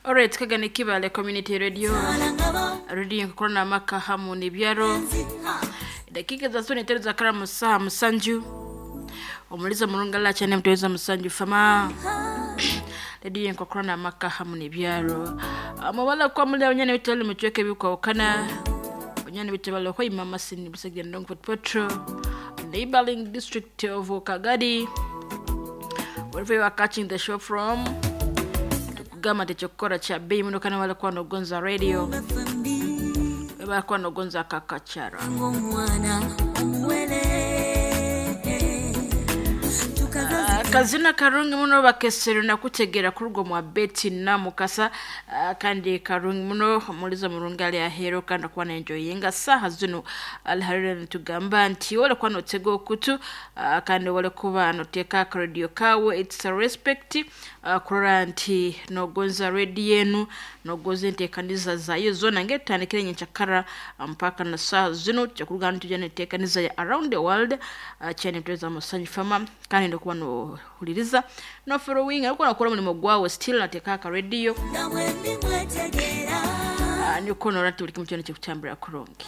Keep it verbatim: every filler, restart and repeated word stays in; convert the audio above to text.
Alright, kagane Kibale Community Radio, radio nkorana maka hamu n'ibyaro. Dakika za soni tero za kara saha musanju omuliza murungala cyane muteza musanju fama radio nkorana maka hamu n'ibyaro. Amabala kwa muri abanyane bitali mucweke bikwawukana abanyane bitebalo kwa imama sini busegya ndongo potro neighboring district of Kagadi, wherever you are catching the show from. Tukugamba techokora cha bei muno kana wale kwa nogonza radio bakuwa nogonza kakachara. Kazina karungi muno bakesero nakutegera kurugwo mwa Betty na Mukasa. uh, kandi karungi muno muliza murungi ali ahero kandi akuwa na enjoyinga saha zino aliharira nitugamba nti wole kuwa notega okutu, uh, kandi wole kuba noteka radio kawe. It's a respect, uh, kurora nti nogonza radio yenu, nogoza enteekaniza zayo zona ngetandikire nyenkyakara mpaka na saha zino kyakurugana nitujya neteekaniza ya around the world, uh, kyane muteza musanyu fama kandi ndokuba nohuliriza no following ariko nakora umurimo gwawe still nateka aka radio, uh, niko norati buri kimwe cyane cyo kucyambira kurungi.